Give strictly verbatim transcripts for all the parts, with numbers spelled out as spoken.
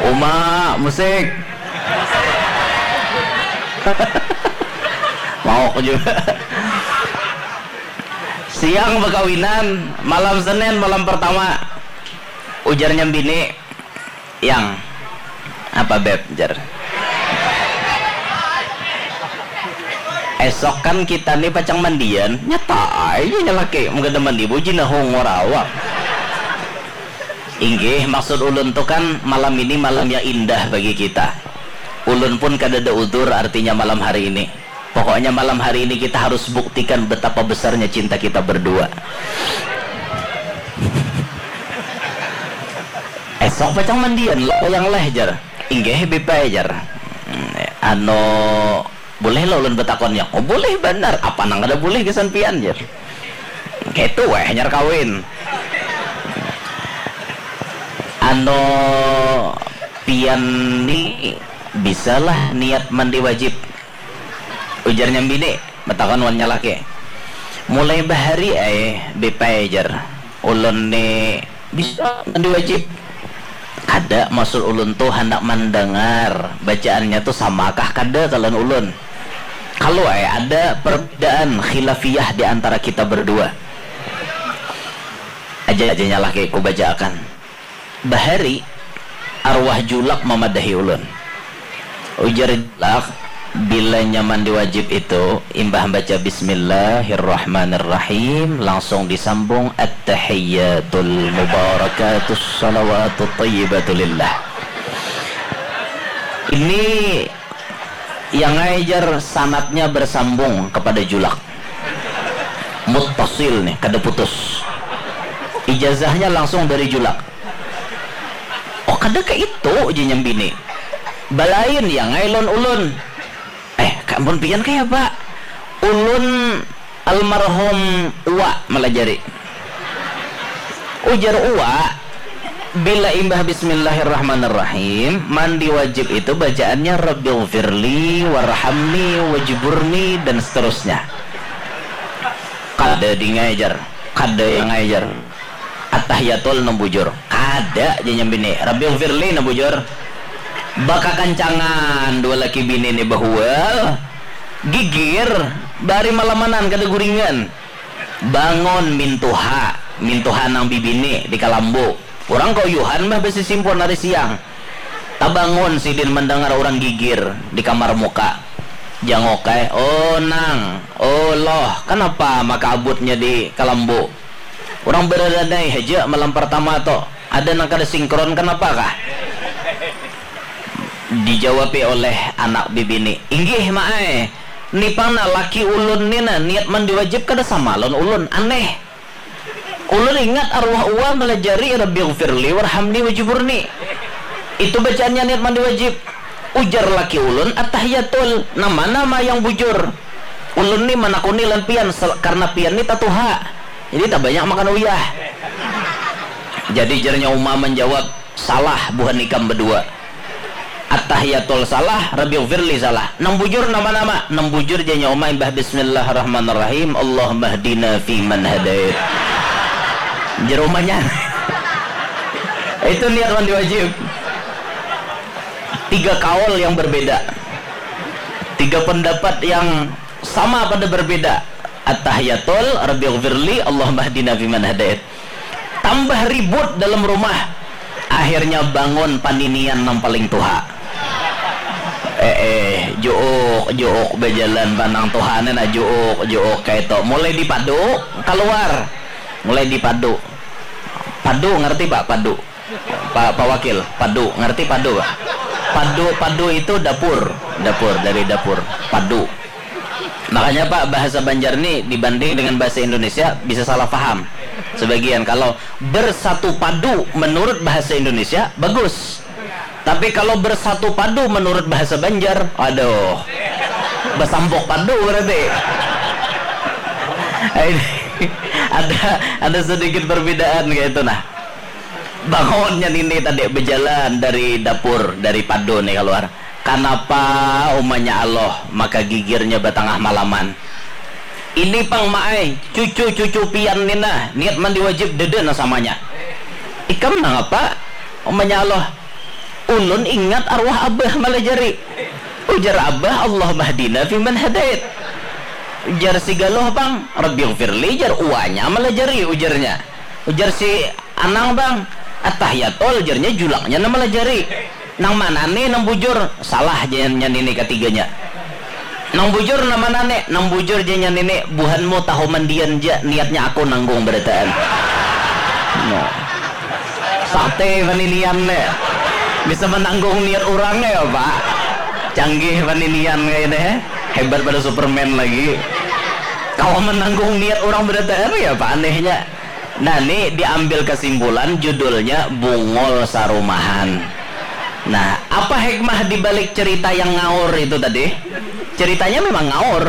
Uma, musik. Mau aku juga. Siang bakawinan, malam Senin, malam pertama. Ujarnya bini, "Yang, apa, Beb?" jar. "Esok kan kita nih pacang mandian." Nyata aja nya laki, mun kada mandi bujina hungor awak. Inggih, maksud ulun tu kan malam ini malam yang indah bagi kita. Ulun pun kadada udur artinya malam hari ini. Pokoknya malam hari ini kita harus buktikan betapa besarnya cinta kita berdua. Esok pacang mandian lo yang leh jar. Inggih bipai jar. Anu, boleh lo ulun betakonnya? Oh boleh banar, apa nang kada boleh gasan pian jar. Kaitu weh hanyar kawin. Anu, pian ni bisalah niat mandi wajib? Ujarnya bini, batakon wan nya laki. Mulai bahari ai bipai jar. Ulun ni bisa mandi wajib. Kada, maksud ulun tu handak mandangar bacaannya tu samakah kada kalan ulun. Kalu ai ada perbedaan khilafiyah di antara kita berdua. Aja aja nya laki ku bacaakan. Bahari, arwah julak mamadahi ulun. Ujar julak, bila nyaman diwajib itu, imbah baca bismillahirrahmanirrahim, langsung disambung at-tahiyyatul mubarakatus salawatut thayyibatu lillah. Ini yang ngajar sanatnya bersambung kepada julak. Muttasil nih, kada putus. Ijazahnya langsung dari julak. Oh kada ke itu, ujinya bini. Balain ya ngai lon ulun. Eh, ka ampun pian kaya apa? Ulun almarhum Uwa malajari. Ujar Uwa, bila imbah bismillahirrahmanirrahim, mandi wajib itu bacaannya Rabbighfirli, warhamni, wajburni, dan seterusnya. Kada di ngajar, kada yang ngajar. Attahiyatul nang bujur. Kada, janya bini. Rabbi ufirli nang bujur. Bakakancangan dua laki bini ni bahual. Gigir, bari malamanan kada guringan. Bangun mintuha, mintuha nang bibini di kalambu. Urang kauyuhan bah basisimpun ari siang. Tabangun sidin mandangar urang gigir di kamar muka. Jangok ai, "Oh nang, oh loh, kanapa maka abutnya di kalambu? Urang baradanai haja malam partama to, ada nang kada sinkron kanapa kah?" Dijawapi oleh anak bibini, "Inggih ma ai, ni pang nah laki ulun ni nah niat mandi wajib kada sama lawan ulun, aneh." Ulun ingat arwah uwa malajari Rabbighfirli warhamni wajburni. Itu bacaannya niat mandi wajib. Ujar laki ulun attahiyatul. Nama-nama yang bujur. Ulun ni manakuni lan pian sel- karena pian ni tatuha. Jadi tabanyak makan uyah. Jadi jarnya uma manjawab, salah buhan ikam badua. Attahiyatul salah, Rabbighfirli salah. Nang bujur nama-nama. Nang bujur janya uma imbah bismillahirrahmanirrahim, Allahummahdina fiman hadait. Jar umanya. Itu niat mandi wajib. Tiga kaul yang berbeda. Tiga pendapat yang sama pada berbeda. Attahiyatul, Rabbighfirli, Allahummahdina fiman hadait. Tambah ribut dalam rumah. Akhirnya bangun paninian nang paling tuha. Eh, eh, juuk, juuk bajalan panang tuha ni nah, juuk, juuk kaitu. Mulai dipadu, kaluar. Mulai dipadu. Padu, ngerti, Pak? Padu. Pak, Pak Wakil, padu. Ngerti padu, Pak? Padu, padu itu dapur. Dapur, dari dapur. Padu. Makanya, Pak, bahasa Banjar ni dibanding dengan bahasa Indonesia bisa salah paham. Sebagian, kalau bersatu padu menurut bahasa Indonesia, bagus. Tapi kalau bersatu padu menurut bahasa Banjar, aduh. Besampuk padu berarti. Ini ada ada sedikit perbedaan kayak itu nah. Bangunnya nini tadi berjalan dari dapur, dari padu nih keluar. Kanapa umanya Allah maka gigirnya batangah malaman? Ini pang maai, cucu-cucu pian ni nah, niat mandi wajib dede nah samanya. Ikam nangapa? Umpamanya Allah, ulun ingat arwah abah malajari. Ujar abah, Allahumma hdina fiman hadait. Ujar si Galuh pang, Rabbighfirli, jar uanya malajari ujarnya. Ujar si Anang pang, Attahiyatul, jarnya julaknya nang malajari. Nang mana nih nang bujur? Salah, jar nyan ini katiganya. Nang bujur nang mana nih? Nang bujur, jar nyan ini, buhanmu tahu mandian ja, niatnya aku nanggung barataan. Nah. Sate paninian nih. Bisa menanggung niat orang ya, Pak. Canggih paninian kayak ini. Hebat pada Superman lagi. Kalau menanggung niat orang barataan ya, Pak, anehnya. Nah, ini diambil kesimpulan, judulnya Bungul Sarumahan. Nah, apa hikmah di balik cerita yang ngaur itu tadi? Ceritanya memang ngaur.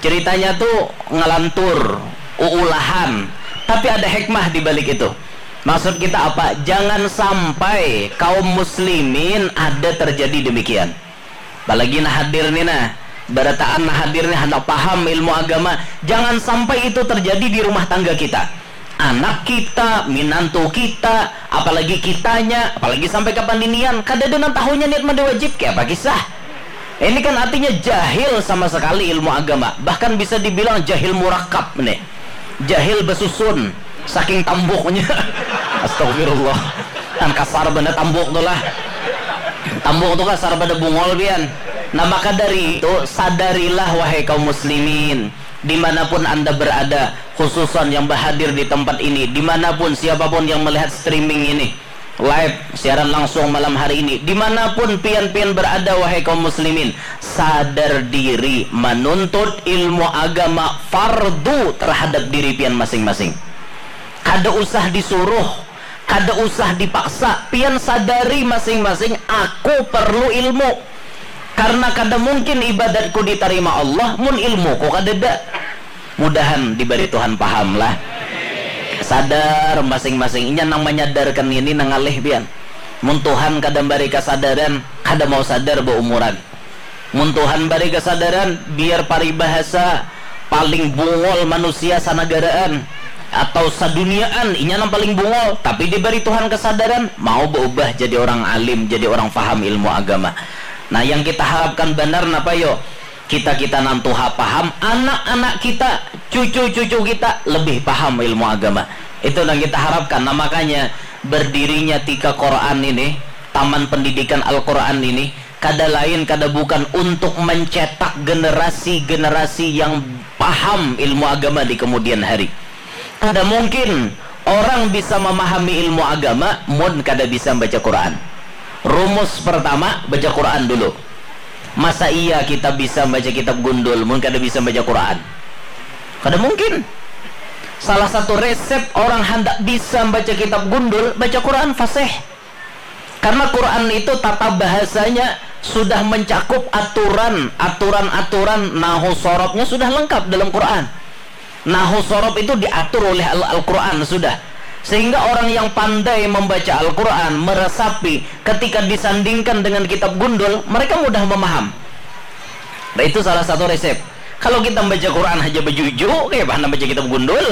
Ceritanya tuh ngelantur, uulahan. Tapi ada hikmah di balik itu. Maksud kita apa? Jangan sampai kaum muslimin ada terjadi demikian. Apalagi nah hadir nih nah, barataan nah hadir nih handak paham ilmu agama. Jangan sampai itu terjadi di rumah tangga kita. Anak kita, minantu kita, apalagi kitanya, apalagi sampai kapaninian, kadada nang tahunya niat mandi wajib, kaya apa kisah? Ini kan artinya jahil sama sekali ilmu agama, bahkan bisa dibilang jahil murakab nih. Jahil basusun, saking tambuknya. Astagfirullah. Kan kasar benda tambuk tu lah. Tambuk tu kasar pada bungol pian. Nah, maka dari itu, sadarilah wahai kaum muslimin, dimanapun anda berada, khususon yang berhadir di tempat ini, dimanapun siapapun yang melihat streaming ini, live, siaran langsung malam hari ini, dimanapun pian-pian berada, wahai kaum muslimin, sadar diri, menuntut ilmu agama fardu terhadap diri pian masing-masing. Kada usah disuruh, kada usah dipaksa, pian sadari masing-masing, aku perlu ilmu. Karena kada mungkin ibadatku ditarima Allah mun ilmuku kadada. Mudahan dibari Tuhan paham lah. Sadar masing-masing. Inya nang manyadarkan ini nang ngalih pian. Mun Tuhan kada mbari kasadaran, kada mau sadar baumuran. Mun Tuhan bari kasadaran, biar paribahasa paling bungol manusia sanagaraan atau saduniaan, inya nang paling bungol, tapi dibari Tuhan kasadaran, mau baubah jadi orang alim, jadi orang faham ilmu agama. Nah, yang kita harapkan banar napa yo? Kita-kita nang tuha paham, anak-anak kita, cucu-cucu kita lebih paham ilmu agama. Itu yang kita harapkan. Nah, makanya berdirinya Tika Quran ini, Taman Pendidikan Al-Quran ini, kada lain, kada bukan untuk mencetak generasi-generasi yang paham ilmu agama di kemudian hari. Kada mungkin orang bisa memahami ilmu agama mun kada bisa membaca Quran. Rumus pertama, baca Quran dulu. Masa iya kita bisa baca kitab gundul mun kada bisa baca Quran? Kada mungkin. Salah satu resep orang handak bisa baca kitab gundul, baca Quran fasih. Karena Quran itu tata bahasanya sudah mencakup aturan, aturan-aturan nahu sorobnya sudah lengkap dalam Quran. Nahu sorob itu diatur oleh Al- Al-Quran sudah. Sehingga orang yang pandai membaca Al-Quran, meresapi, ketika disandingkan dengan kitab gundul, mereka mudah memaham. Nah, itu salah satu resep. Kalau kita membaca Quran aja bejuju, kayak mana baca kitab gundul?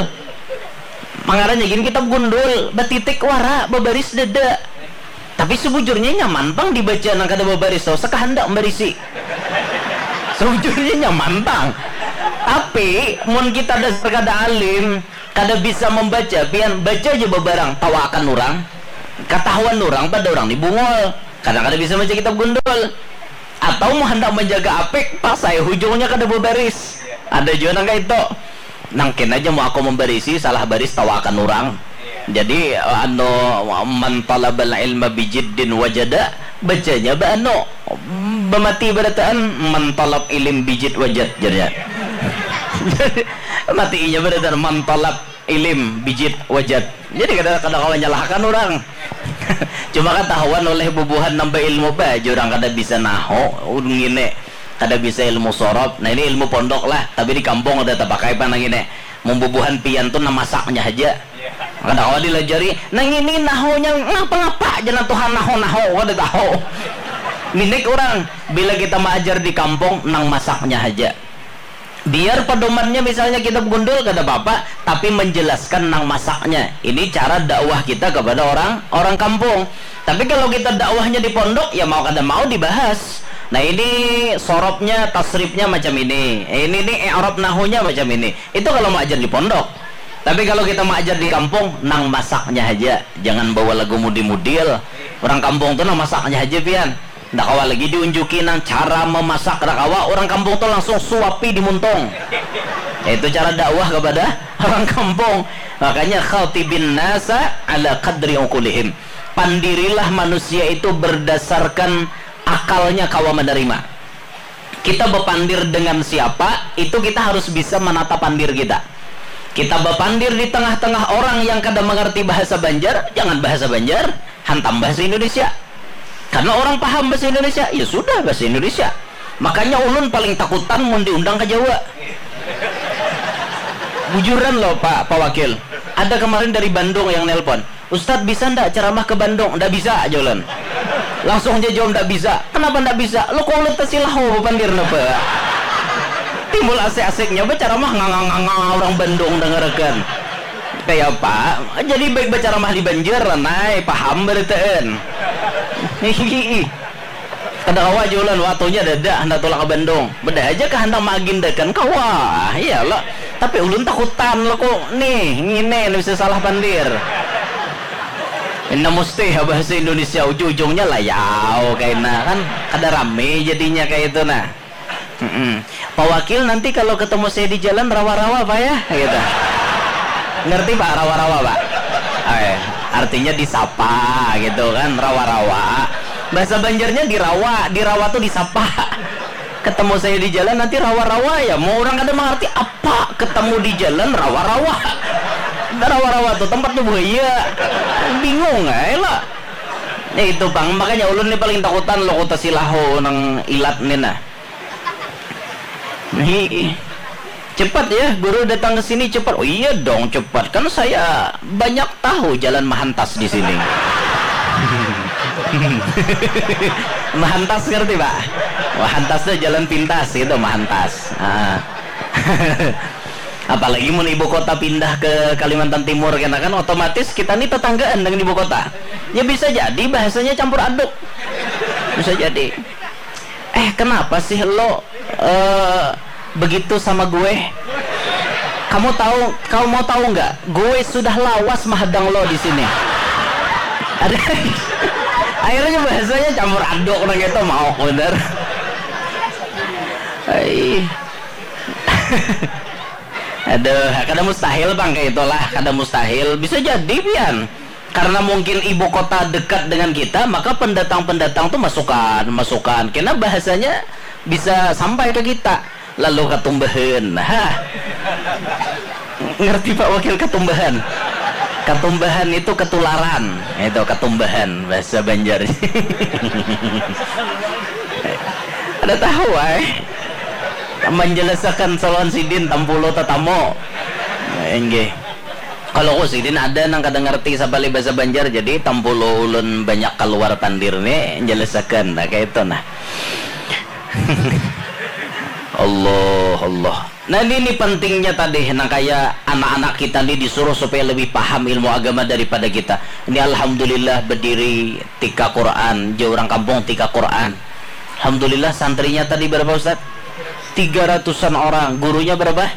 Mangarannya gin kitab gundul, batitik wara, babaris dada. Tapi sebujurnya nyaman pang dibaca nang kada babaris tau, sakahandak barisi. Sebujurnya nyaman pang. Tapi mun kita dasar kada alim, kada bisa membaca, pian baca aja babarang, tawaakan urang, katahuan urang pada urang ni bungol, karena kada bisa baca kitab gundul. Atau mau hendak menjaga apik, pasai hujungnya kada babaris. Ada jua nang kaitu. Nang kena aja mau aku membarisi, salah baris tawaakan urang. Jadi anu, man talabal ilma bijiddin wajada, bacanya ba anu, bamati barataan, man talab ilim bijit wajat, jarnya. Mati inya barataan, man talab ilim bijit wajat. Jadi kada kada kawa nyalahkan urang. Cuma katahuan oleh bubuhan nambah ilmu ba aja urang kada bisa nahu, ngini, kada bisa ilmu sorob. Nah, ini ilmu pondok lah, tapi di kampung kada tapakai pang nang ini. Mun bubuhan pian tu nang masaknya haja. Kada kawa dilajari. Nang ini nahunya ngapa-ngapa ja nang tuhan nahu-nahu kada tahu. Minik urang, bila kita maajar di kampung nang masaknya haja. Biar pedomannya misalnya kitab gundul kada apa-apa, tapi menjelaskan nang masaknya. Ini cara dakwah kita kepada orang orang kampung. Tapi kalau kita dakwahnya di pondok, ya mau kada mau dibahas. Nah, ini sorobnya, tasrifnya macam ini. Ini nih i'rab nahunya macam ini. Itu kalau mau ajar di pondok. Tapi kalau kita mau ajar di kampung, nang masaknya aja. Jangan bawa lagu mudi-mudil. Orang kampung tuh nang masaknya aja, pian. Ndak kawa lagi diunjuki nang cara memasak, ndak kawa. Orang kampung tuh langsung suapi di muntung. Itu cara dakwah kepada orang kampung. Makanya khatibin nasa ala qadri uqulihim. Pandirilah manusia itu berdasarkan akalnya kawa menerima. Kita bepandir dengan siapa, itu kita harus bisa menata pandir kita. Kita bepandir di tengah-tengah orang yang kada mengerti bahasa Banjar, jangan bahasa Banjar, hantam bahasa Indonesia. Karena orang paham bahasa Indonesia, ya sudah bahasa Indonesia. Makanya ulun paling takutan mun diundang ke Jawa. Bujuran loh Pak, Pak Wakil. Ada kemarin dari Bandung yang nelpon. Ustadz, bisa ndak ceramah ke Bandung? Ndak bisa, aja ulun. Langsung aja jawab ndak bisa. Kenapa ndak bisa? Lo kok ulun tasilah ho bepandir napa? Timbul asik-asiknya berceramah nganga-nganga orang Bandung dengarakan. Kayak apa? Jadi baik berceramah di Banjar lah, nai paham beritaan. Hihihi. Kada kawa aja ulun, waktunya dada, handak tulak ke Bandung. Beda aja kah handak maagendakan, kawa, iya lo. Tapi ulun takutan lo kok, nih, ngini, nih bisa salah pandir. Inna mustih, bahasa Indonesia, ujung-ujungnya layau, kaina, kan, kada rame jadinya kayak itu, nah. Mm-mm. Pak Wakil, nanti kalau ketemu saya di jalan, rawa-rawa, Pak, ya? Gitu. Ngerti, Pak, rawa-rawa, Pak? Oke. Artinya disapa, gitu kan, rawa-rawa. Bahasa Banjarnya dirawa, dirawa tuh disapa. Ketemu saya di jalan, nanti rawa-rawa, ya. Mau orang kada mengerti, apa ketemu di jalan, rawa-rawa. Rawa-rawa tuh tempatnya buaya. Bingung, eh, lah. Ya itu, Bang. Makanya ulun nih paling takutan lo kota Silaho nang ilat nih, nah. Hi, cepat ya, guru datang ke sini cepat. Oh iya dong, cepat. Kan saya banyak tahu jalan mahantas di sini. Mahantas ngerti, Pak? Mahantas tuh jalan pintas gitu, mahantas. Ah. Apalagi mun ibu kota pindah ke Kalimantan Timur, kena kan otomatis kita nih tetanggaan dengan ibu kota. Ya bisa jadi bahasanya campur aduk. Bisa jadi. Eh, kenapa sih lo, eh, begitu sama gue? Kamu tahu, kau mau tahu nggak? Gue sudah lawas mahadang lo di sini. Ada akhirnya bahasanya campur aduk orang itu mau bener. Hai. Aduh, kada mustahil, Bang, kayak itulah, kada mustahil. Bisa jadi, pian. Karena mungkin ibu kota dekat dengan kita, maka pendatang-pendatang tuh masukan, masukan. Karena bahasanya bisa sampai ke kita. Lalu katumbahan. Hah. Ngerti, Pak Wakil, katumbahan? Katumbahan itu ketularan. Itu katumbahan bahasa Banjar. Ada tahu, ay? Menjelaskan saluan sidin tampulu tatamu. Inggih. Kalau ku sidin ada nang kada ngerti sabali bahasa Banjar, jadi tampulu ulun banyak keluar pandir nih, jelasakan. Nah, kayak itu nah. Allah, Allah. Nah, ini, ini pentingnya tadi, nang kaya anak-anak kita nih disuruh supaya lebih paham ilmu agama daripada kita. Ini alhamdulillah berdiri T K Quran, jar urang kampung T K Quran. Alhamdulillah santrinya tadi berapa, Ustaz? Tiga ratusan orang, gurunya berapa?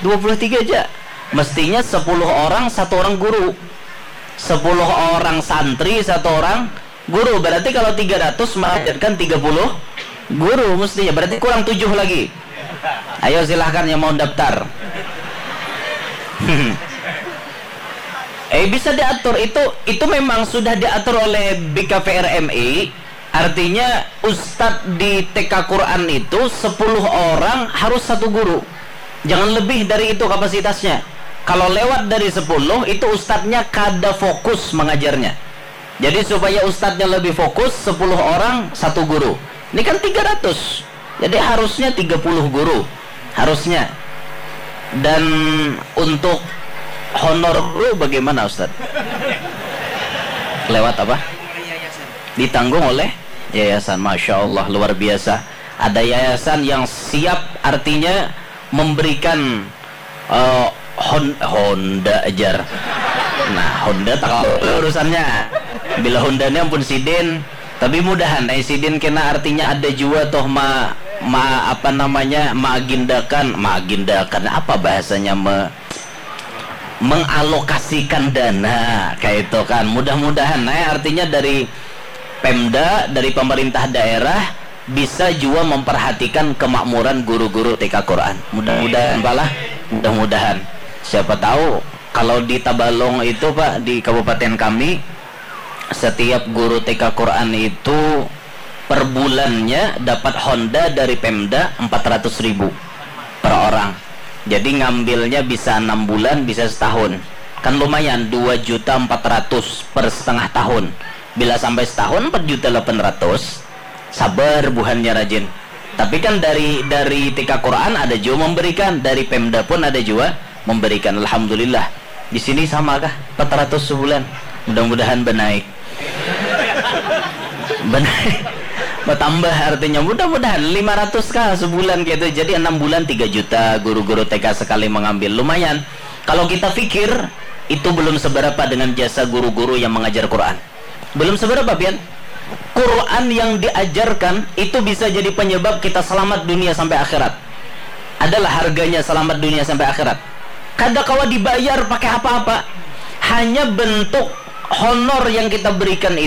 Dua puluh tiga aja. Mestinya sepuluh orang, satu orang guru. Sepuluh orang santri, satu orang guru. Berarti kalau tiga ratus mengajarkan tiga puluh guru mestinya. Berarti kurang tujuh lagi. Ayo silahkan yang mau daftar. Eh, bisa diatur. Itu, itu memang sudah diatur oleh B K V R M I. Artinya, ustadz di T K Quran itu sepuluh orang harus satu guru. Jangan lebih dari itu kapasitasnya. Kalau lewat dari sepuluh, itu ustadznya kada fokus mengajarnya. Jadi, supaya ustadznya lebih fokus, sepuluh orang, satu guru. Ini kan tiga ratus. Jadi, harusnya tiga puluh guru. Harusnya. Dan untuk honor guru bagaimana, Ustadz? Lewat apa? Ditanggung oleh yayasan. Masya Allah, luar biasa. Ada yayasan yang siap, artinya memberikan, eh, Hon-, Honda, jar. Nah, Honda tak tahu urusannya. Bila Honda ni ampun sidin, tapi mudahan ai sidin kena artinya ada jua toh ma, ma apa namanya maagindakan, maagindakan apa bahasanya me, mengalokasikan dana kayak itu kan. Mudah-mudahan ai artinya dari Pemda, dari pemerintah daerah bisa jua memperhatikan kemakmuran guru-guru T K Quran. Mudah-mudahan palah, mudah-mudahan. Siapa tahu kalau di Tabalong itu Pak, di kabupaten kami, setiap guru T K Quran itu per bulannya dapat Honda dari Pemda empat ratus ribu per orang. Jadi ngambilnya bisa enam bulan, bisa setahun. Kan lumayan, dua juta empat ratus per setengah tahun. Bila sampai setahun empat juta delapan ratus, sabar buhannya rajin. Tapi kan dari dari T K Quran ada juga memberikan, dari Pemda pun ada juga memberikan. Alhamdulillah. Di sini sama kah? Empat ratus sebulan. Mudah-mudahan benaik. Benaik. Bertambah artinya. Mudah-mudahan lima ratus kah sebulan gitu. Jadi enam bulan tiga juta guru-guru T K sekali mengambil. Lumayan. Kalau kita pikir, itu belum seberapa dengan jasa guru-guru yang mengajar Quran. Belum seberapa, pian. Quran yang diajarkan itu bisa jadi penyebab kita selamat dunia sampai akhirat. Adalah harganya selamat dunia sampai akhirat. Kada kawa dibayar pakai apa-apa. Hanya bentuk honor yang kita berikan